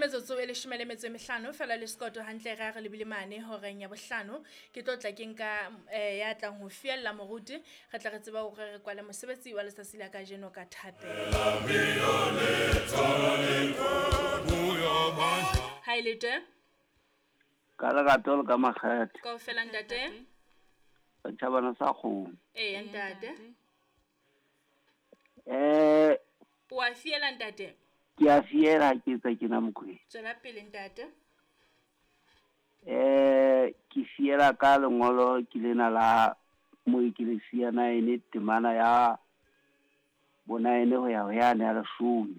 Metsotso e 15 fela le sekoto hantle re a re lebile mane horeng ya 5. Ke tlo tla ke nka ya tlang ho fiella moruti, re tla re tseba hore re kwale mosebetsi wa letsatsi la kajeno ka thapelo. Ha e le teng? Ka lerato le ka makgethe. Kaofela ntate. Setjhabana sa kgomo. Eya ntate. O a fiela ntate? Ke a fiela ha ke etsa ke na Mokwena. Tswela pele ntate. Ke fiela ka lengolo ke lena la Moekelesia 9 temana ya bo-9 ho ya ho yane ya 10.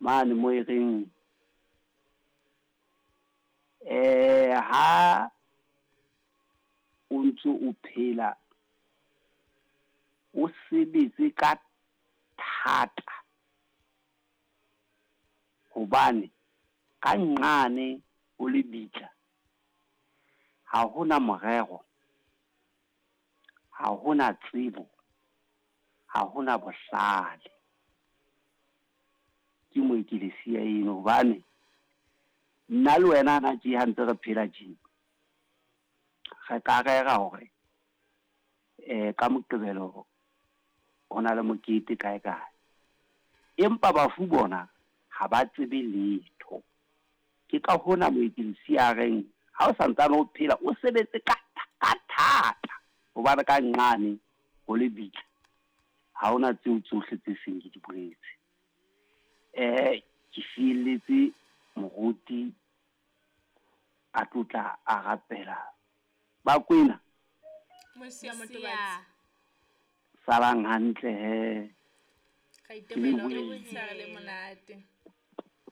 Mane mo e reng ha o ntse o phela o sebetse ka thata, hobane ka nqane ho lebitla ha hona morero, ha hona tsebo, ha hona bohlale. Ke Moekelesia eno, hobane nna le wena hana tje ha ntse re phela tje, re ka rera hore ka Moqebelo ho na le mokete kae kae, empa bafu bona ha ba tsebe letho. Ke ka hona Moekelesia a reng ha o santsane o phela o sebetse ka thata, hobane ka nqane ho lebitla ha hona tseo tsohle tse seng ke di boletse. Ke fielletse moruti a tlotla a rapela. Bakwena Mosia Motobatsi, salang hantle he. Re itemela hore motshehare le monate.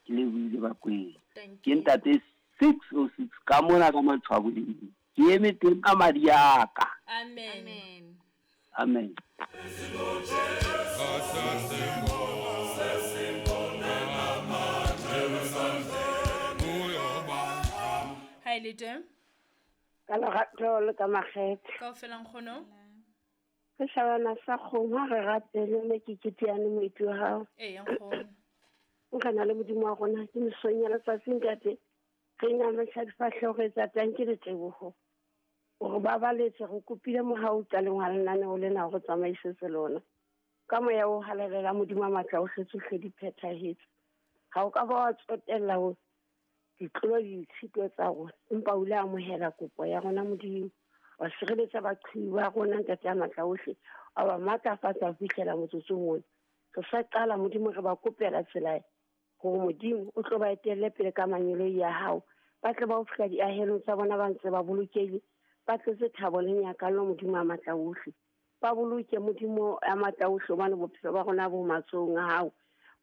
Ke lebohile Bakwena. Thank Ke you. ntate 606 ka mona ka Matshwaboleng. Ke eme teng ka madi a ka. Amen. Amen. Amen. Ha e le teng? Ka lerato le ka makgethe. Kaofela nkgono? Re shabana sa kgomo ha re rapele mme ke keteane moeti wa hao. Eya nkgono. Nka le Modimo wa rona ke mesong ya letsatsi ntate. Re inamisa difahleho re etsa tang ke leteboho. Hore ba baletse re kopile mohau qaleng wa lenaneo lena hore tsamaisetse lona. Ka moya o halalelang Modimo wa matla ohle tsohle di phethahetse. Ha o ka ba wa tsotella ho ditlolo le ditshito tsa rona, empa o ile a amohela kopo ya rona Modimo. Wa sireletsa baqhibi ba rona ntate ya matla ohle, wa ba matlafatsa ho fihlela motsotsong ona. Re sa qala Modimo re ba kopela tsela hore Modimo o tlo ba etelle pele ka mangeloi ya hao. Ba tle ba o fihla diahelong tsa bona ba ntse ba bolokehile, ba tletse thabo le nyakallo Modimo a matla ohle. Ba boloke Modimo a matla ohle, hobane bophelo ba rona bo matsohong a hao.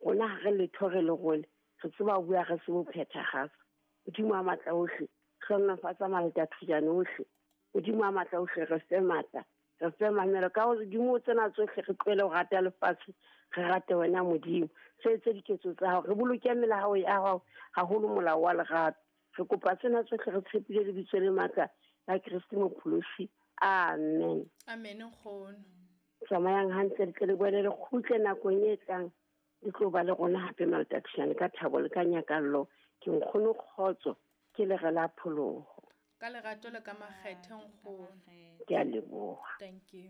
Rona ha re letho re lerole, re tseba ho bua re se bo phethahatsa. Modimo a matla ohle, hlohonolofatsa malatathujane ohle. Modimo a matla ohle, re fe matla, re fe mamelo. Ka hodimo tsena tsohle re tlohele ho rata lefatshe, re rate wena Modimo. Se etse diketso tsa hao, re boloke melao ya hao, haholo molao wa lerato. Re kopa tsena tsohle re tshepile lebitso le matla la Kreste Mopholosi. Amen. Amen nkgono. Tsamayang hantle, le tle le boele le kgutle nakong e tlang. Le tlo ba le rona hape malatathujane ka thabo le ka nyakallo. Ke nkgono kgotso, ke lere la pholoho. Ka lerato le ka makgethe nkgono. Ke a leboha. Thank you.